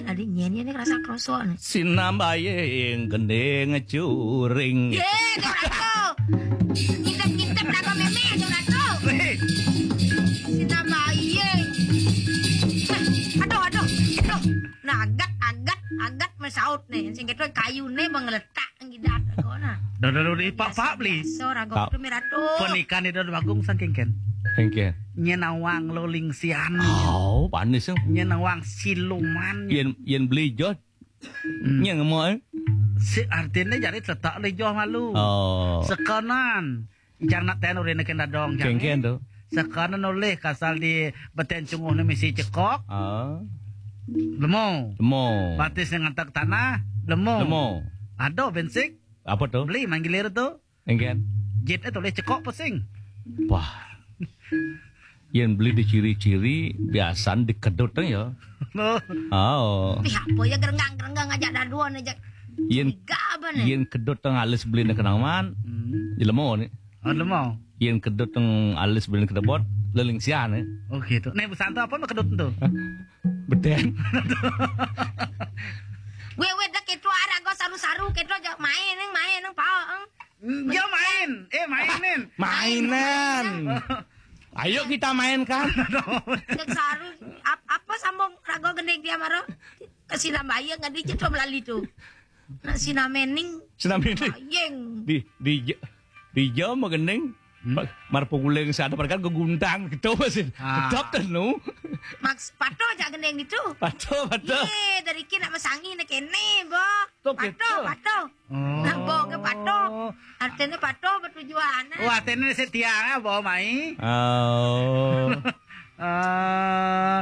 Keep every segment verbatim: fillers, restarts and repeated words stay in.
Tadi nyanyi ni rasa kerosok ni. Sinambayang gending curing. Ye, tu ratu. Ngintip-ngintip lagu meme tu ratu. Sinambayang. Aduh, aduh, aduh. Nah, agat, agat, agat mesaut ni. Sing kata kayu ni mengeletak ngidat aku nah. Dah, dah, dah, dah, pak, pak, beli. Biasa ragu tu mi ratu. Pernikahan itu bagung sang kengken. Kengken. Nyen awang loling sian. Oh, panis tu. Nyen awang siluman. Yen, yen beli jod. Hmm. Nyen ngemo, eh? Si artine jari tetak le joh malu. Oh. Sekonan. Jar nak ten urine ken dadong jar. Kengken tu. Sekonan oleh kasal di beten cunguh ni misi cekok. Ah. Lemo. Lemo. Batis ni ngantak tanah. Lemo. Lemo. Ado bensik. Apa tu? Beli manggilir tu. Engken. Jit eh tulis cekok pusing. Wah. Yen beli diciri-ciri biasan dikedut ya. Oh. Ih, apa ya gerenggang-gerenggang aja daduan aja. Yen Tiga apa ni? Yen kedut teng alis beli ni kenang man. Hmm. Jelemo ni. Oh, lemo. Yen kedut teng alis beli ni kedebot leling sian ni. Oh gitu. Nih busan tu apa mah kedut tu? Beden. Gue gue dah ketua arago saru-saru ketua aja main neng main neng pao. Dia main. Eh, mainin. Mainan. Ayo kita mainkan. Cek saru ap, apa sambung rago gending dia maro? Ke sinambayang ngadi ceto melali tu. Nak sinamening. Sinamening. Bayeng. Di di di jo mau gending. Hmm? Mar pengguling sana mereka geguntang gitu masih. Ah. Tetap tenu. Maks pato aja gending itu. Pato pato. Ye, dari kini nak mesangi nak kene bo. Pato pato. Oh. Nak bo ke pato. Artinya pato bertujuan. Oh, artinya setia ya bo mai. Oh. Eh,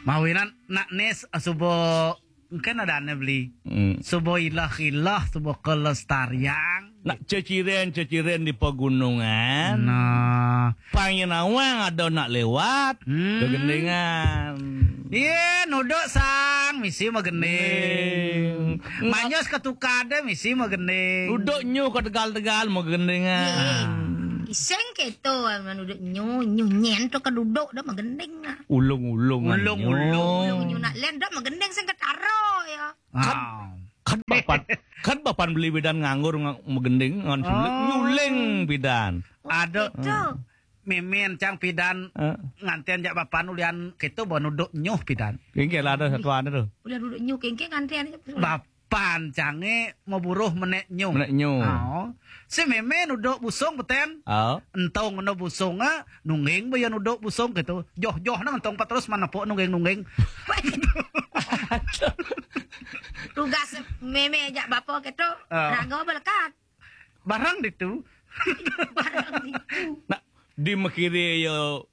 mawinan nak nes subo kan ada ane beli. Hmm. Subo ilah-ilah, subo kelestarian. Nak ceciren-ceciren di pegunungan. Nah. Pangin awang ada nak lewat. Hmm. Kegendingan. Iya, nuduk sang misi magending. Manyos ketukade misi magending. Duduk nyu ke tegal-tegal magendingan. Iseng keto aman duduk nyu, nyu nyen tu ke duduk dah magending lah. Ulung-ulung. Ulung-ulung. Ulung nyu nak len dah magending sing ketaro ya. Kan, kan bapan, kan bapan beli bidan nganggur magending ngan sulit nyuling bidan. Ada. Itu. Mimin cang pidan nganten jak bapan ulian keto bo nuduk nyuh pidan. Kengke lah ada satuan tu. Ulian nuduk nyuh kengke nganten. Bapan cange mau buruh menek nyuh. Menek nyuh. Oh. Si meme nuduk busung beten. Oh. Entong no busung ah, nungging bo ya nuduk busung keto. Joh-joh nang entong paterus manepuk nungging-nungging. Tugas meme jak bapa keto. Oh. Raga belekat. Barang ditu. Barang ditu. Nak di mekiri yo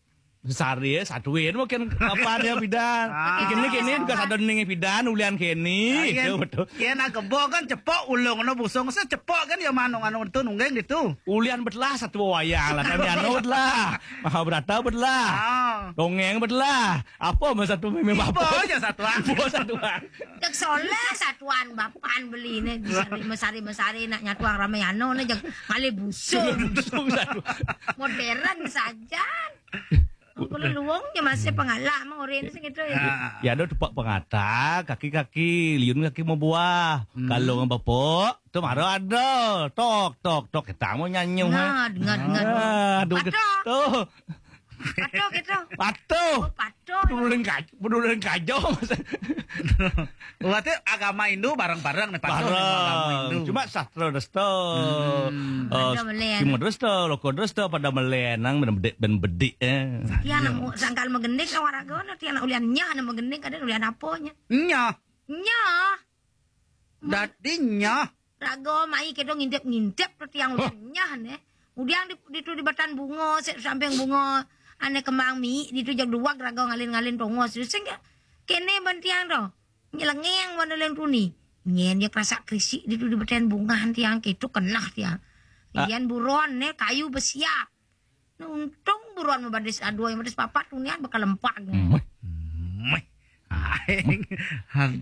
sari ya satuin mungkin apa dia pidan. Ah. Kini kini juga sadon ning pidan ulian kini. Ah, iya. Betul. Iya nak kebo kan cepok ulung no busung se cepok kan ya manung anu tu nunggeng ditu. Ulian betlah satu wayang lah kami anu betlah. Mahabharata betlah. Ah. Dongeng betlah. Apa masa tu meme apa aja satuan. Apa satuan. Cek soleh satuan bapan beli ni mesari mesari nak nyatuang Ramayana ni cek ngalih busung. Busung satuan. Modern saja. Kalau luang je masih pengalah mah orang ni gitu ya. Ya ada tupak pengata, kaki-kaki, liun kaki mau buah. Hmm. Kalau ngam bapok, tu mara ada. Tok tok tok kita mau nyanyi. Nah, dengar dengar. Aduh. Pato. Tu. Pato gitu. Pato. Oh, pato. Pedulian kajo, pedulian kajo. Berarti agama Hindu bareng-bareng nih pato. Bareng. Agama Hindu. Cuma sastra desta. Hmm. Eh, ada melen. Cuma desta, loko desta pada melen nang ben bedik ben bedik eh. Tiang nak sangkal magending kan waraga no tiang nak ulian nyah nak magending kada ulian apa nya. Nyah. Nyah. Dadi nyah. Raga mai kedo ngintip-ngintip tu tiang ulian nyah ne. Udiang di, di tu di batan bunga, sek samping bunga, ane kembang mi, di tu jag duwag raga ngalin-ngalin tongos. Sing ke, kene ban tiang tu. Nyelengeng wan leng tuni. Nyen dia kerasak kerisik di tu di batan bunga tiang ke tu kenah tiang. Ah. Ian buron ne kayu besiap. Untung buruan mabadis dua yang badis papat tunian bakal empat. Meh. Meh. Aing.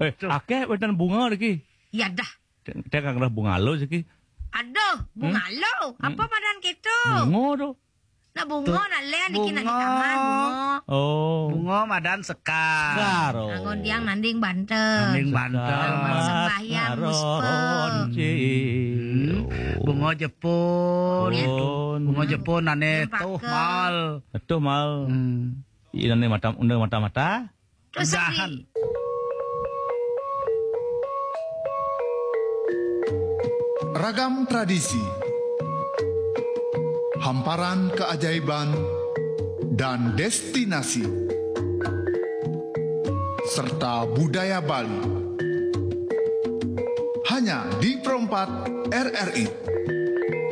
Eh, aduh. Akeh wetan bunga lagi. Ya dah. Dia kan kena bunga lo siki. Aduh, bunga lo. Apa padan gitu? Bunga tu. Nah, bungo nak lén niki nak di kamar, bungo. Oh. Bungo madan sekar. Sekar. Anggon tiang nanding banten. Nanding banten. Anggon sembahyang, muspe. Ronci. Bungo jepun. Pun. Bungo jepun ane Jepaka. Tuh Mal. Tuh Mal. Hmm. Ini mata undang mata-mata. Terus Udahan. Sari. Ragam tradisi, hamparan keajaiban, dan destinasi, serta budaya Bali. Hanya di Pro empat R R I.